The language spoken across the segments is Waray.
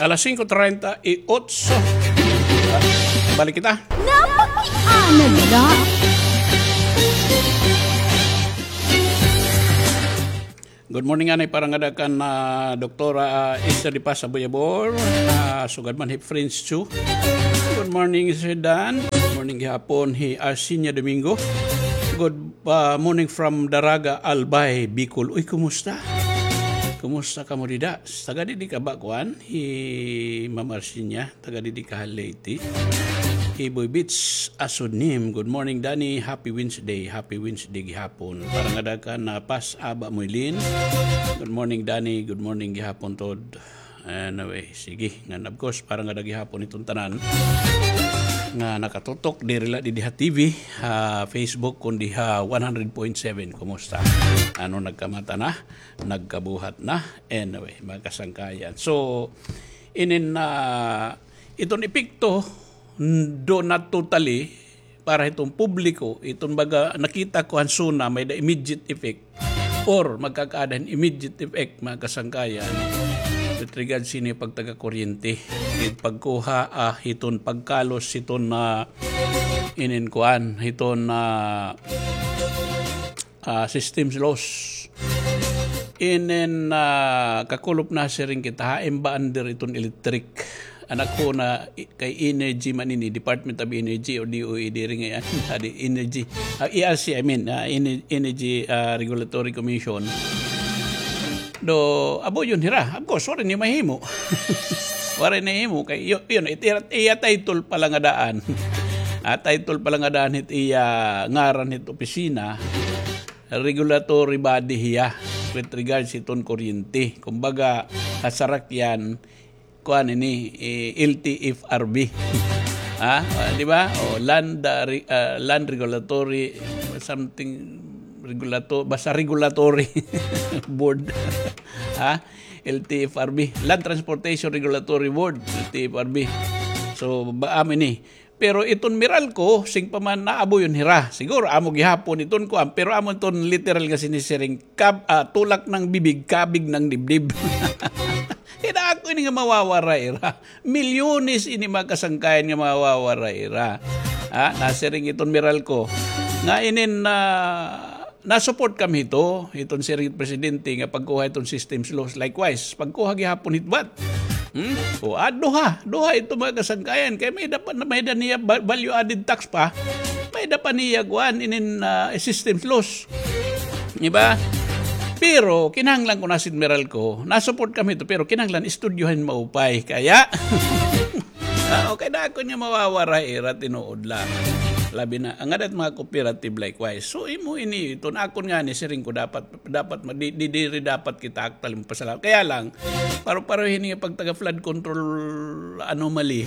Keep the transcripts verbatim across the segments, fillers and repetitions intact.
Alas singko treinta y ocho. Balik kita. Napakiana na. Good morning, anay, para ngada kan, ah, Doktora, ah, Esther de Paz Aboyabor. Ah, sugad man hi Prince Chu. Good morning, Sir Dan. Good morning gihapon hi Arsinia Domingo. Good, ah, morning from Daraga, Albay, Bicol. Uy, kumusta? Kumusta kamo dida? Taga didi ka ba, kuan? Hi Ma'am Arsinia. Taga didi ka ha Leyte. Iboy Beach, Asud Nim. Good morning, Danny. Happy Wednesday. Happy Wednesday gihapon. Para ngada kan Pas Aba Moylin. Good morning, Danny. Good morning gihapon, Tod. Anyway, sige. Ngan, of course, para ngada gihapon iton tanan nga nakatutok, diri la didi ha T V, ha Facebook, kundi ha one hundred point seven. Kumusta? Ano, nagkamata na? Nagkabuhat na? Anyway, mga kasangkayan. So, inin, ah, iton epekto, n-, do not totally para hiton publiko, iton baga nakita ko han SONA may-ada immediate effect or magkakaada hin immediate effect, mga kasangkayan, with regards hini pagtaga kuryente, it pagkuha, ah, hiton pagkalos hiton na inin kuan, hiton na ah, systems loss. Inin, ah, kakulop na siring kita, hain ba under iton electric? An ako na i-, kay energy man ini, Department of Energy o D O E diri ngay-an, adi energy. Ah, E R C, I mean, ah, Ener-, Energy, ah, Regulatory Commission. Do, abo yun hira. Of course, waray niya mahimo. Waray niya mahimo kay yu-, yun, it-, iya, iya title pa la nga daan. Ah, title pa la nga daan hit iya ngaran hit opisina, regulatory body hiya with regards hiton kuryente. Kumbaga, ha sarakyan, kuan ini, eh, L T F R B. Ha? Ah, di ba? O, land, ah, re-, ah, land regulatory, something regulato-, basta regulatory board. Ha? L T F R B, Land Transportation Regulatory Board, L T F R B. So, ba, amo ini. Pero iton Meralco, sing pa man naabuyon hira. Siguro, amo gihapon iton kuan, pero amo iton literal nga sinisiring, kab-, ah, tulak ng bibig, kabig ng dibdib. Kay dako ini nga mawawara ira. Milyones ini mga kasangkayan nga mawawara ira. Ha? Nasiring iton Meralco. Nga inin na, na-support kami hito, hiton siring hit presidente nga pagkuha hiton systems loss. Likewise, pagkuha gihapon hit VAT. Hmm? O, ah, duha, duha ito mga kasangkayan. Kay may-ada pa, may-ada niya ba-, value added tax pa. May-ada pa niya kuan inin, ah, systems loss. Di ba? Pero kinahanglan ko na si Meralco, na-support kami ito, pero kinahanglan istudyohan maupay. Kaya, ah, okay, dako niya mawawara ira tinuod la. Labi na, ang adat mga cooperative likewise. So, imo ini, iton akon ngani, siring ko dapat, dapat, ma-, di, di, diri dapat kita actually magpasalamat. Kaya lang, paro-pareho ini nga pagtaga flood control anomaly.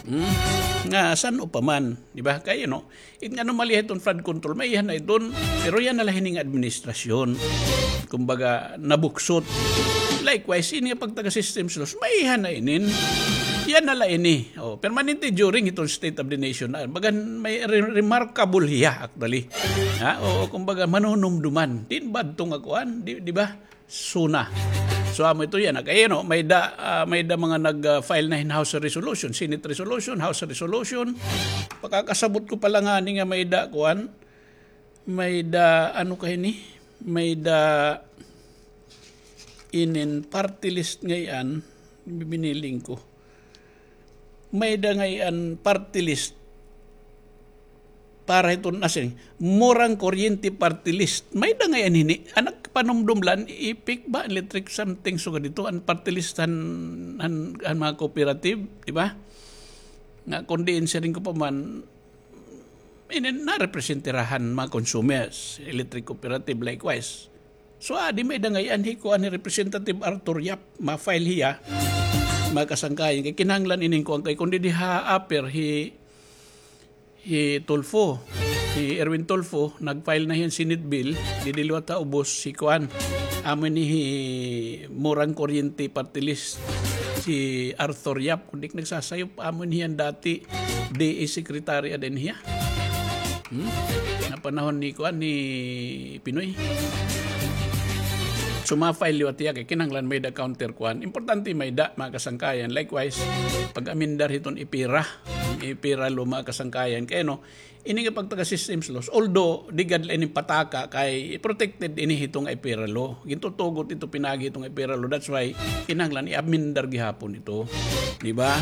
Hmm? Nga, san-o pa man, di ba? Kaya, no? It nga anomalya hiton flood control, maiha na iton, pero yana la hini nga administrasyon. Kumbaga, nabuksot. Likewise, ini nga pagtaga systems loss, maiha na inin. Yana la ini. O, permanente during hiton State of the Nation. Ah, bagan may re-, remarkable hiya, actually. Ha? O, kumbaga, manunumduman. Din ba ito nga kuan? Di, di ba? SONA. So, amo ito yana. Kay, no, may-ada, ah, may-ada mga nag, ah, file na hin House resolution, Senate resolution, House resolution. Pakakasabot ko pa la ngani nga may-ada, kuan, may-ada, ano ka ini? May-ada inin party list ngay-an, bibiniling ko. May-ada ngay-an party list para hiton asin, murang kuryente party list. May-ada ngay-an hini. An nagpanumdum la, EPIC ba, electric something, sugad ito, an party list han, han, han mga cooperative, di ba? Nga, kon diin siring ko pa man, ini, narepresentirahan mga consumers, electric cooperative, likewise. So, adi may-ada ngay-an hi kuan hi Representative Arthur Yap, ma-file hiya, mga kasangkayan. Kay kinahanglan inin kuan kay kundi di ha-appear hi, hi Tulfo, hi Erwin Tulfo, nag-file na hiya hin Senate bill, didi liwat ha ubos hi kuan. Amo ini hi murang kuryente party list, si Arthur Yap, kundi nagsasayop, amo ini hiya an dati D A secretary ada ini hiya. Hmm? Nga panahon ni kuan, ni Pinoy. Sumafile liwat hiya kay kinahanglan may-ada counter kuan. Importante may-ada, mga kasangkayan. Likewise, pag-amendar hiton EPIRA, EPIRA law, mga kasangkayan. Kay ano, ini nga pagtaga systems laws, although di gad la ini pataka kay protected ini hiton EPIRA law. Gintutugot ito pinaagi hiton EPIRA law. That's why kinahanglan i-amendar gihapon ito. Di ba?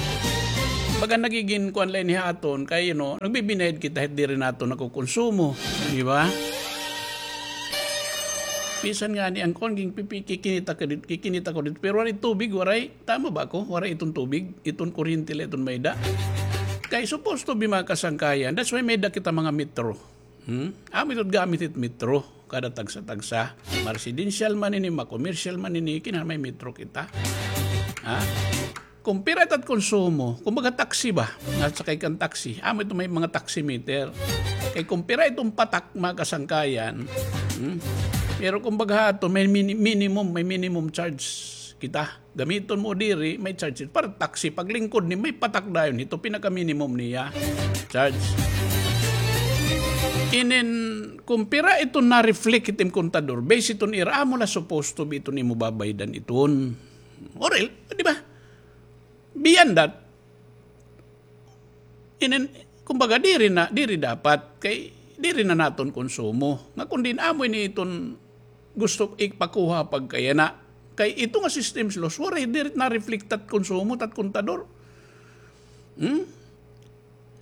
Baga nagigin kuan la ini ha aton kay, you know, nagbibinayad kita hit diri naton nakukonsumo. Di ba? Bisan ngani an kuan, ginpipi-, kikinita ka dit-, kikinita ko dito. Pero waray tubig, waray, tama ba ako? Waray iton tubig, iton kuryente la iton may-ada. Kay supposed to be mga kasangkayan. That's why may-ada kita mga metro. Hmm? Amo ito gamit it metro. Kada tagsa-tagsa. Ma-residential man ini, ma-commercial man ini, kinahanglan may metro kita. Ha? Kung pira itat konsumo, kumbaga taxi ba? Nasakay kan taxi. Amo ito may mga taximeter. Kay kung pira iton patak, mga kasangkayan, hmm? Pero kumbaga ato, may mini-, minimum, may minimum charge kita. Gamiton mo diri, may charge. Para taxi, paglingkod ni, may patak dayon. Ito pinaka-minimum niya. Charge. Inin, kung pira ito na-reflect itim kontador, base iton ira, amo la supposed to be iton imo babaydan iton. Or el-, di ba? Beyond that, inin, kumbaga, diri na, diri dapat, kay diri na naton konsumo. Nga kun diin amo ini iton gusto ipakuha pagkayana. Kay ito nga systems laws, waray diri na-reflect tat konsumo, tat kontador. Hmm?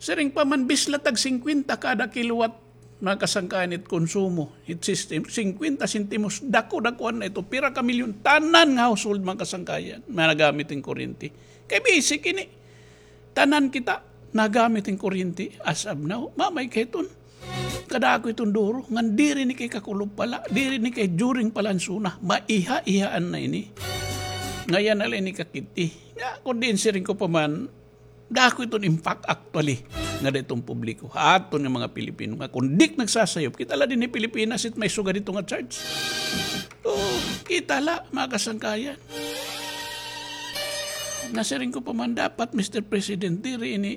Siring pa man, bisla tag singkwenta kada kilowatt, mga kasangkayan, it konsumo, it system, singkwenta sentimos, dako-dakuan na ito, pira ka milyon, tanan nga household, mga kasangkayan, nga nagamit hin kuryente. Kay basic ini, tanan kita nagamit hin kuryente as of now, mamay kay iton. Kadako iton duro, ngan diri ni kay kakulob pala, diri ni kay during pala an SONA, maiha-ihaan na ini. Ngayan na la ini kakit-i. Nga, kun diin siring ko pa man, dako iton impact actually nga dida hiton publiko. Ha aton nga mga Pilipino nga kun di nagsasayop, kita la dinhi Pilipinas it may sugad hito nga charge. Oo, kita la, mga kasangkayan. Nasiring ko pa man dapat, Mister President, diri ini,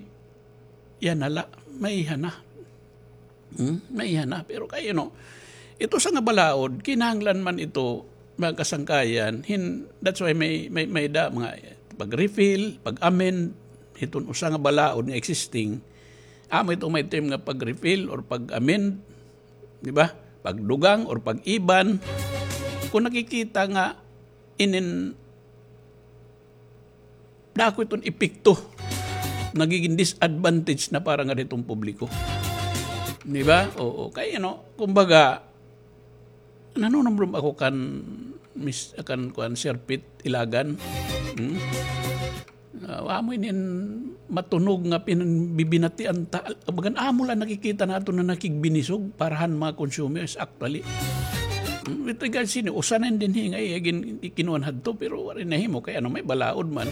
yana la, maiha na. Hmm? Maiha na. Pero kay, you know, ito sa nga balaod, kinahanglan man ito, mga kasangkayan, hin-, that's why may, may, may-ada mga pag-refill, pag-amend, hiton usa nga balaod nga existing, amo ito may term nga pag-refill or pag-amend, di ba? Pagdugang or pag-iban. Kung nakikita nga inin dako iton epekto. Nagiging disadvantage na para ngada hiton publiko. Di ba? Oo. Kay, ano, kumbaga, nanunumdom ako kan Miss, kan kuan, Sir Pete Ilagan. Hmm? Ah, amo inin matunog nga pinanbibinatian ta. Bagan amo la nakikita naton na nakigbinisog para han mga consumers actually. Hmm, with regards sini, usa na dinhi nga iya gin-, ikinuan hadto, pero waray nahimo kay ano, may balaod man.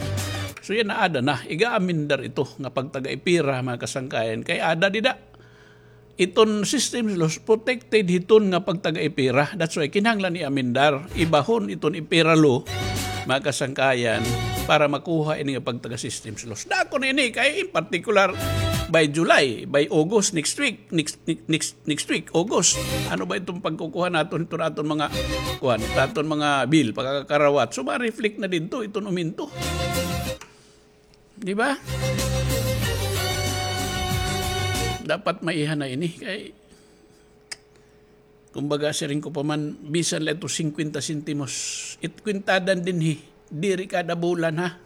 So, yana, aada na, iga-amendar ito nga pagtaga-EPIRA, mga kasangkayan. Kay aada dida, iton systems laws protected hiton nga pagtaga-EPIRA. That's why kinahanglan i-amendar, ibahon iton EPIRA law, mga kasangkayan, para makuha ini nga pagtaga-systems laws. Dako na ini, kay in particular, by July, by August, next week, next, next, next week, August. Ano ba iton pagkukuha naton, iton aton mga, kuan, iton aton mga bill, pagkakarawat? So, ma-reflect na didto iton uminto. Di ba? Dapat maiha na ini kay, kumbaga, siring ko pa man, bisan la ito singkwenta sentimos, it kwintadan dinhi, diri kada bulan, ha?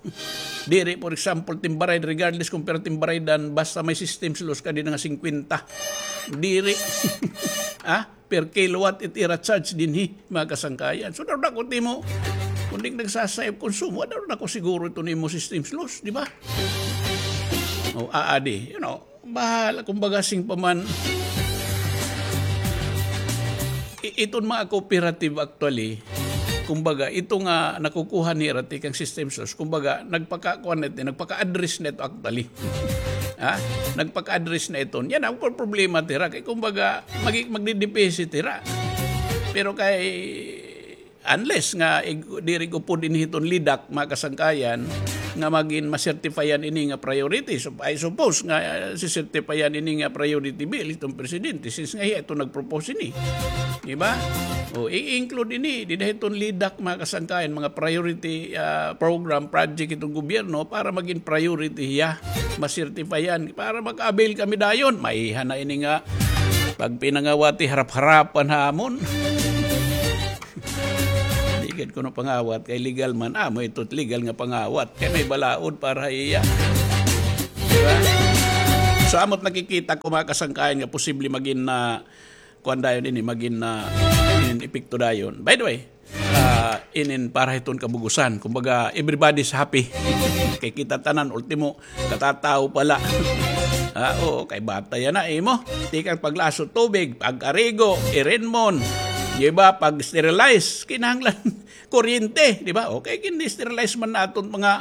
Diri, for example, timbarayad, regardless kung pira timbaraydan, basta may systems laws ka dinhi nga singkwenta. Diri. Ha? Per kilowatt it ira charge dinhi, mga kasangkayan. So, daw dako it imo, kun di nagsasayop konsumo, daw dako siguro ito nimo systems laws, di ba? O, aadi, you know, bahala, kumbaga, siring pa man, i-, iton mga cooperative actually, kumbaga, ito nga nakukuha nira tikang systems laws, kumbaga, nagpakakuan na ito, nagpaka-address na ito actually. Ha? Nagpaka-address na ito. Yana, waray problema tira. Kay kumbaga, magi-, magdideficit tira. Pero kay, unless nga, ig-, diri ko po dinhi iton lidak, mga kasangkayan, nga magin masertipayan ini nga priority. So, I suppose nga, ah, sisertipayan ini nga priority bill iton presidente since nga hiya ito nagpropose ini. Di ba? O, i-include ini, dida hiton LEDAC, mga kasangkayan, mga priority, ah, program, project iton gobyerno para magin priority hiya. Masertipayan, para maka-avail kami dayon. Maiha na ini nga pagpinangawati harap-harapan ha amon. Di gad kuno pangawat kay legal man. Amo ito legal nga pangawat. Kay may balaod para ha iya. Di ba? So, amo't nakikita ko, mga kasangkayan, nga posible magin na, kuan dayon ini, magin na, inin epekto dayon. By the way, ah, inin para hiton kabugusan. Kumbaga, everybody's happy. Kay kita tanan, ultimo, katatawo pa la. Ah, oo, kay bata yana, imo. Tikang paglaso tubig, pag-arigo, irinmon, di ba, pag-sterilize, kinahanglan kuryente, di ba? Okay, gin-sterilize man naton mga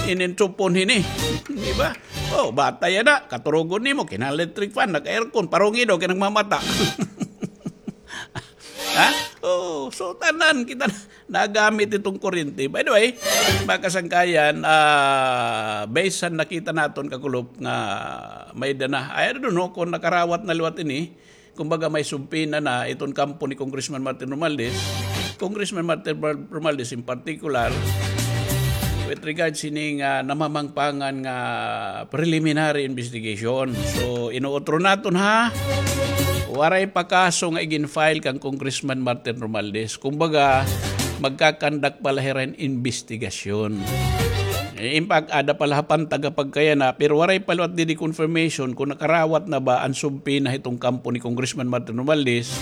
inin supon hini, di ba? Oh, bata yana, katurugon nimo, kinahanglan electric fan, nag-aircon, parungi daw, kay nagmamata. Ha? Oh, so tanan kita na-, nagamit iton kuryente. By the way, mga kasangkayan, ah, based sa nakita naton kakulop nga may-ada na. I don't know kung nakarawat na liwat ini. Kumbaga may subpoena na iton kampo ni Congressman Martin Romualdez. Congressman Martin Romualdez in particular, with regards hini nga namamangpangan nga preliminary investigation. So, inuutro naton ha, waray pa kaso nga igin-file kan Congressman Martin Romualdez. Kumbaga, magkakandak pa la hira hin investigasyon. Eh, in fact, ada pa la ha pantag ha pagkayana, pero waray pa liwat didi confirmation kung nakarawat na ba an subpoena hiton kampo ni Congressman Martin Romualdez.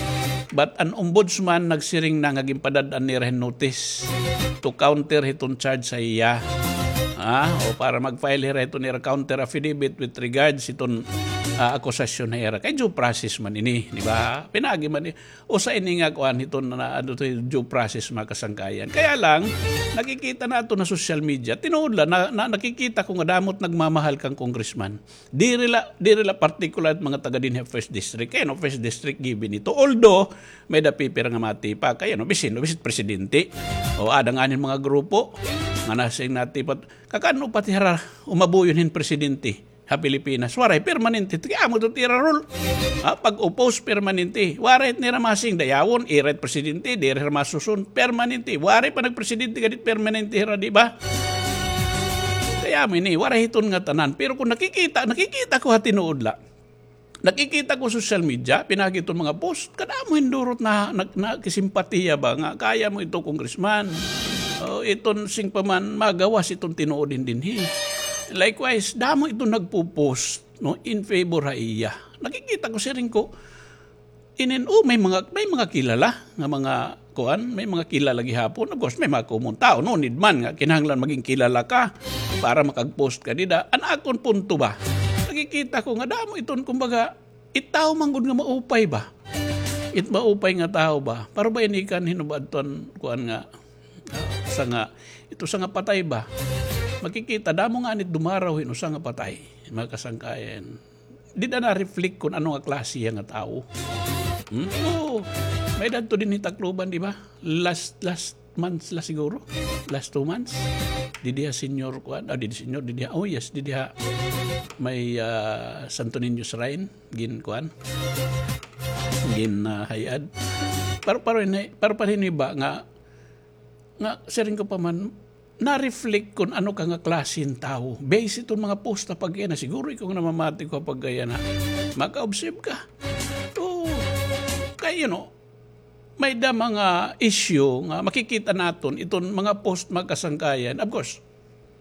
But an ombudsman nagsiring na nga ginpadad-an nira hin notice to counter hiton charge ha iya. Ah, o para mag-file hira hiton ira counter affidavit with regards hiton, ah, akusasyon ha ira. Kay due process man ini, di ba? Pinaagi man i-, usa ini nga kuan hiton na, ano to, due process, mga kasangkayan. Kaya lang, nakikita naton ha social media, tinuod la, na, na, nakikita ko nga damo't nagmamahal kan congressman. Diri la, diri la particular mga taga dinhi ha First District. Kay ano, First District given ito. Although, may-ada pipira nga matipak. Kay ano, bisan, bisan presidente. O, ada ngani hin mga grupo nga nasiring natipak. Kakan-o pa it ira umabuyon hin presidente ha Pilipinas. Waray permanente. Kay amo ito it ira rule. Ha, pag-oppose permanente. Waray it nira masiring dayawon, ira it presidente, diri hira masusun, permanente. Waray pa nagpresidente nga di permanente hira, di ba? Kay amo ini, waray hiton ngatanan. Pero kung nakikita, nakikita ko ha tinuod la. Nakikita ko social media, pinaagi iton mga post, kadamo hin durot na, na, nakisimpatiya ba nga kaya mo ito, congressman. O, iton siring pa man, magawas iton tinuod hin dinhi. Likewise, damo iton nagpo-post, no, in favor ha iya. Nakikita ko, siring ko, inin, o, may mga, may mga kilala nga mga kuan, may mga kilala gihapon. Of course, may mga common tawo, no need man nga kinahanglan magin kilala ka para makag-post ka dida. An akon punto ba, nakikita ko nga damo iton, kumbaga, it tawo man gud nga maupay ba. It maupay nga tawo ba. Para ba ini kan hin-o ba adton kuan nga, ah, usa nga, ito usa nga patay ba. Makikita, damo ngani it dumaraw hin usa nga patay, mga kasangkayan. Dida na-reflect kon ano nga klase hiya nga tawo. Hmm? Oo. May-ada adto dinhi Tacloban, di ba? Last, last months la siguro. Last two months. Didi ha Señor kuan, ah, didi Señor, didi ha, oh yes, didi ha may, ah, Santo Niño Shrine, gin kuan. Gin, ah, hay-ad. Pero, pero ini, pero, pero ini ba nga nga, siring ko pa man, na-reflect kon ano ka nga klase hin tawo. Base iton mga post ha pagkayana, siguro ikaw nga namamati ko ha pagkayana, maka-observe ka. Oo. Kay, you know, may-ada mga issue nga makikita naton iton mga post, mga kasangkayan. Of course,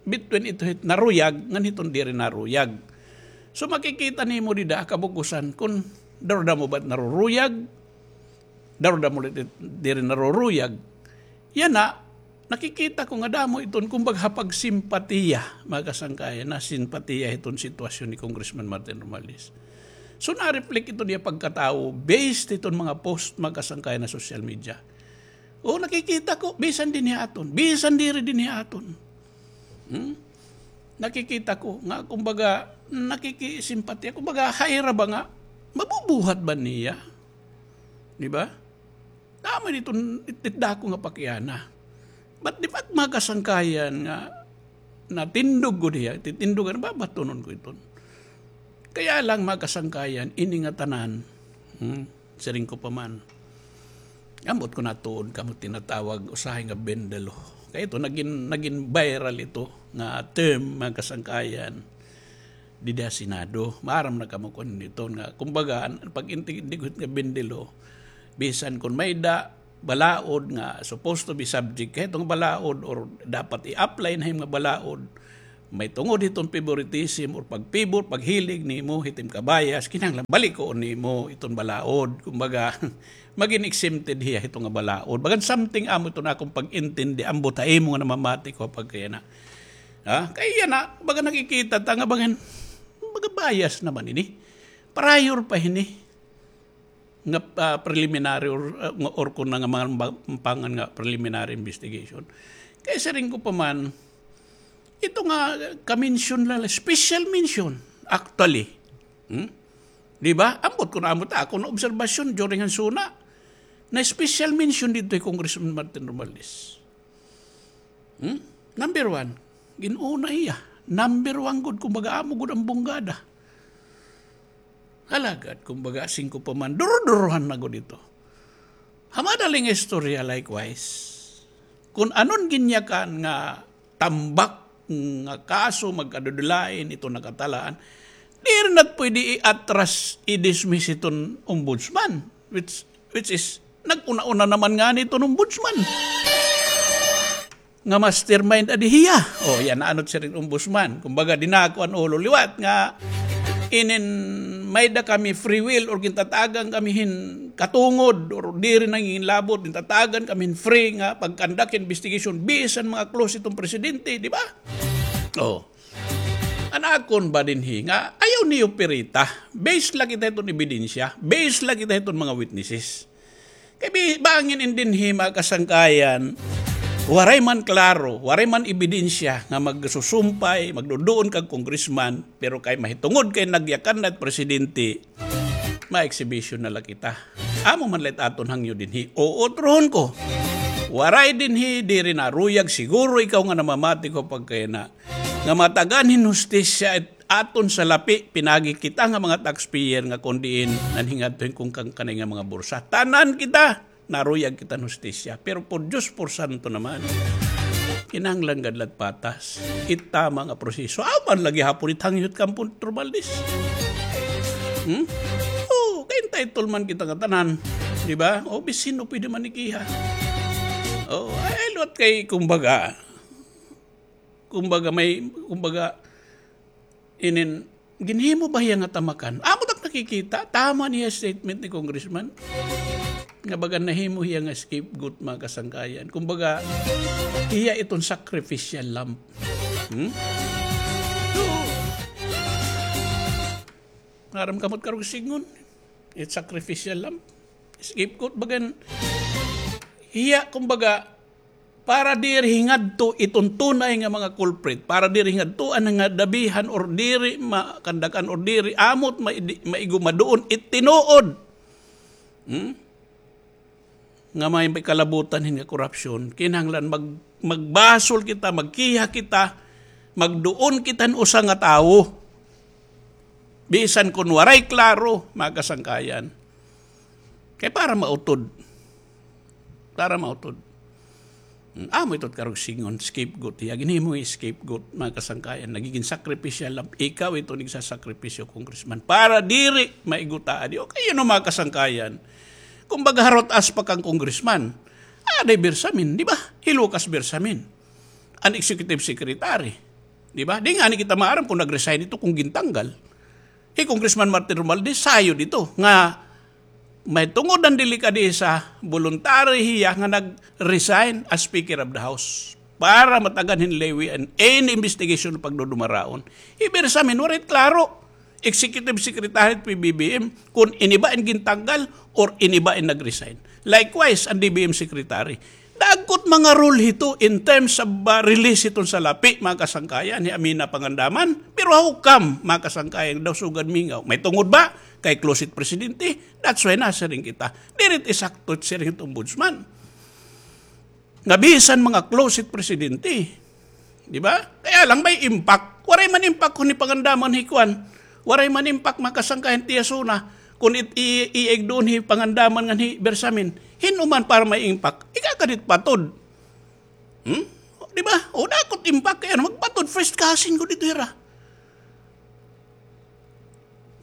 between ito hit naruyag ngan hiton diri naruyag. So, makikita nimo dida ha kabug-osan kon daw damo ba it naruruyag, daw damo it diri naruruyag. Yana, nakikita ko nga damo iton, kumbaga, ha pagsimpatiya, mga kasangkayan, nasimpatiya hiton sitwasyon ni Congressman Martin Romualdez. So, na-reflect iton iya pagkatawo based hiton mga post, mga kasangkayan, ha social media. O, nakikita ko, bisan dinhi ha aton, bisan diri dinhi ha aton. Hmm? Nakikita ko nga, kumbaga, nakikisimpatiya, kumbaga, ha ira ba nga mabubuhat ba niya? Di ba? Damo iton it-, it dako nga pakiana. But the fact, mga kasangkayan, nga natindog gud hiya, titindogan, babatunon ko iton. Kaya lang, mga kasangkayan, ini nga tanan, hmm, siring ko pa man, ambot ko natuod kamo tinatawag usahay nga bendelo. Kay ito, nagin, nagin viral ito nga term, mga kasangkayan, dida ha Senado. Maaram na kamo kun ano ito nga, kumbaga, an-, pag-intindi ko nga bendelo, bisan kun may-ada balaod nga supposed to be subject, kay ito nga balaod or dapat i-apply na him nga balaod, may tungod hiton favoritism or pagpibor, paghilig nimo, hitim kabayas, kinahanglan balikoon nimo iton balaod. Kumbaga, magin exempted hiya hito nga balaod. Bagan something amo ito na akong pag-intindi, ambot ha imo nga namamati ko pagkayana. Ha? Kay yana, baga nakikita ta nga bagan, baga bias naman ini. Prior pa hini nga, ah, preliminary or, ah, nga, or kun nga mga ba-, pangan nga preliminary investigation. Kay siring ko pa man, ito nga ka-mention la, special mention, actually. Hmm? Di ba? Ambot ko na, ambot ako na obserbasyon during han SONA, na special mention didto hi Congressman Martin Romualdez. Hmm? Number one, gin-una hiya. Number one gud, kumbaga, amo gud an bunggada. Alagad, kumbaga, siring ko pa man, duro-durohan na gud ito. Ha madaling istorya, likewise, kun ano an ginyakan nga tambak nga kaso, magkadudulain, ito nakatalaan, diri na pwede i-atras, i-dismiss iton ombudsman, which, which is, nag-una-una naman ngani iton ombudsman nga mastermind adi hiya. O, yana, ano siring ombudsman. Kumbaga, dinako an ulo liwat nga inin may-ada kami free will or gintatagan kami hin katungod or diri nanginginlabot, gintatagan kami hin free nga pag-conduct investigation bisan mga close iton presidente, di ba? O. An akon ba dinhi nga ayaw niyo pirita. Base la kita hiton ebidensya. Base la kita hiton mga witnesses. Kay bi-, bangin in dinhi, mga kasangkayan, waray man klaro, waray man ebidensya nga magsusumpay, magduduon kag congressman, pero kay mahitungod kay nagyakan na it presidente, ma-exhibition na la kita. Amo man la it aton hangyo dinhi. Uutrohon ko. Waray dinhi, diri naruyag, siguro ikaw nga namamati ko pagkayana, nga matagan hin hustisya it aton salapi, pinaagi kita nga mga taxpayer nga kon diin nanhingadto hin kung kankanay nga mga bursa. Tanan kita, naruyag kita hin hustisya. Pero por Diyos, por santo naman, kinahanglan gad la it patas. It tama nga proseso. Apan lagi hapon it hangyo hit Campo Romualdez. Hmm? O, kay entitled man kita nga tanan. Di ba? O, bisan hin-o pwede man ikiha. O, ay, liwat kay, kumbaga, kumbaga may, kumbaga, inin, ginhimo ba hiya nga tamakan? Amo tak nakikita, tama niya statement ni Congressman. Nga baga nahimo hiya nga scapegoat, mga kasangkayan. Kumbaga, hiya iton sacrificial lamb. Hmm? So, ngaram kamot karog sidngon, it sacrificial lamb. Scapegoat, bagan, hiya, kumbaga, para diri hingadto iton tunay nga mga culprit, para diri hingadto an nga dabihan or diri makandakan or diri amot maidi-, maigo maduon it tinuod. Hmm? Nga may, may kalabutan hin nga korupsyon, kinahanglan mag-, magbasol kita, magkiha kita, magduon kita hin usa nga tawo. Bisan kon waray klaro, mga kasangkayan. Kay para mautod. Para mautod. Hmm, amo ito karog sidngon, scapegoat. Hiya, ginhimo hiya scapegoat, mga kasangkayan. Nagigin sakripisyal la, ikaw ito nagsasakripisyo, congressman. Para diri maiguta adi. Okay, yun, mga kasangkayan. Kumbaga, harot as pa kang congressman. Aday Bersamin, di ba? Hi Lucas Bersamin. An executive secretary. Di ba? Di ngani kita maaram kung nag-resign ito, kung gintanggal. Hi Congressman Martin Romualdez, sayod ito nga may tungod an delikadesa, voluntary hiya nga nag-resign as Speaker of the House para matagan hin levy an any investigation pagdudumaraon. Hi Bersamin, waray klaro. Executive Secretary it P B B M, kun ini ba in gintanggal or ini ba in nag-resign. Likewise, an D B M Secretary. Dagko it mga rule hito in terms of, uh, release hiton salapi, mga kasangkayan, hi Amina Pangandaman. Pero how come, mga kasangkayan, daw sugad mingaw? May tungod ba? Kay close it presidente. That's why nasiring kita. Diri it isakto it siring hit ombudsman. Nga bisan mga close it presidente, Di ba? Kaya lang may impact. Waray man impact kon hipangandaman hi kuan. Waray man impact, mga kasangkayan, tiyason na. Kon it-, i-, iig doon hipangandaman ngan hi Bersamin. Hin-o man para may impact. Ikakadit patod. Hmm? Di ba? O, dako it impact kay ano, magpatod first cousin ko dito hira.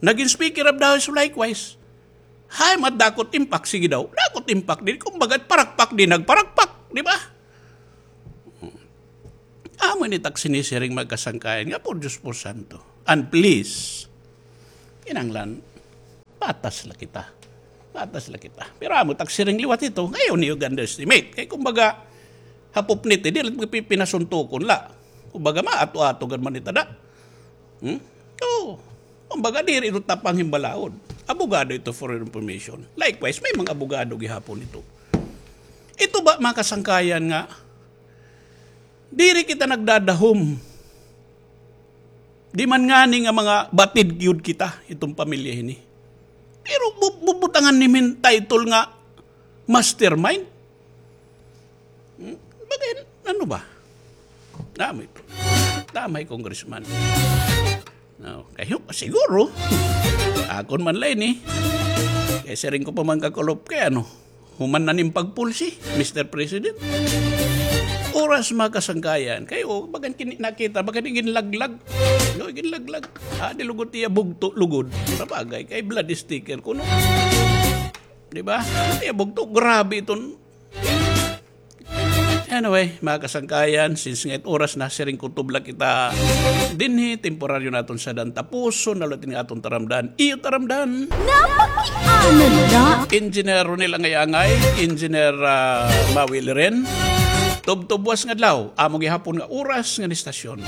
Naging Speaker of the House likewise. Hay, mat dako it impact, sige daw. Dako it impact din. Kumbaga, parakpak din, nagparakpak. Di ba? Amo ini it ak sinisiring, mga kasangkayan, nga por Diyos, por santo. And please, kinahanglan, patas la kita. Patas la kita. Pero amo it ak siring liwat ito, nga ayaw niyo ga-underestimate. Kay kumbaga, hapop niti, di la pipinasuntukon la. Kumbaga, maato-ato gad man ita da. Hmm? Oo. Kumbaga, diri ito tapang hin balaod. Abogado ito, for your information. Likewise, may mga abogado gihapon ito. Ito ba, mga kasangkayan, nga diri kita nagdadahom. Di man ngani nga mga batid gyud kita, iton pamilya hini. Pero bu-, bubutangan nimo hin title nga mastermind. Hmm? Bagay, ano ba? Dami ito. Damay, Congressman. No, kay, siguro, akon man la ini. Kay siring ko pa man kakulop kay ano, human na nim pagpulsi, Mister President. Oras, mga kasangkayan. Kay, o, bagan kini-, nakita, bagan ginlaglag. No, ginlaglag. Ah, di lugod iya bugto, lugod. Sabagay, kay blood is thicker kuno. Di ba? Iya bugto, grabe iton. Anyway, mga kasangkayan, since nga it oras na, siring ko tubla kita dinhi, temporaryo naton sadyan tapuson, na liwat ini nga aton taramdan. Iyo taramdan. Napakiana la. Engineer Ronel Angay-Angay, Engineer, ah, Maui Liren. Tubtob buwas nga adlaw, amo gihapon nga oras ngan istasyon.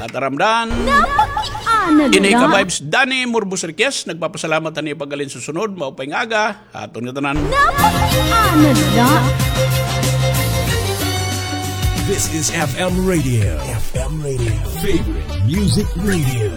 At taramdan. Napakiana la. Ini ka vibes, Danny Murbos Riquez, nagpapasalamat han iyo pag-alin. Susunod, maupay nga aga. Aton nga tanan. Napakiana la. This is F M Radio. F M Radio. Favorite Music Radio.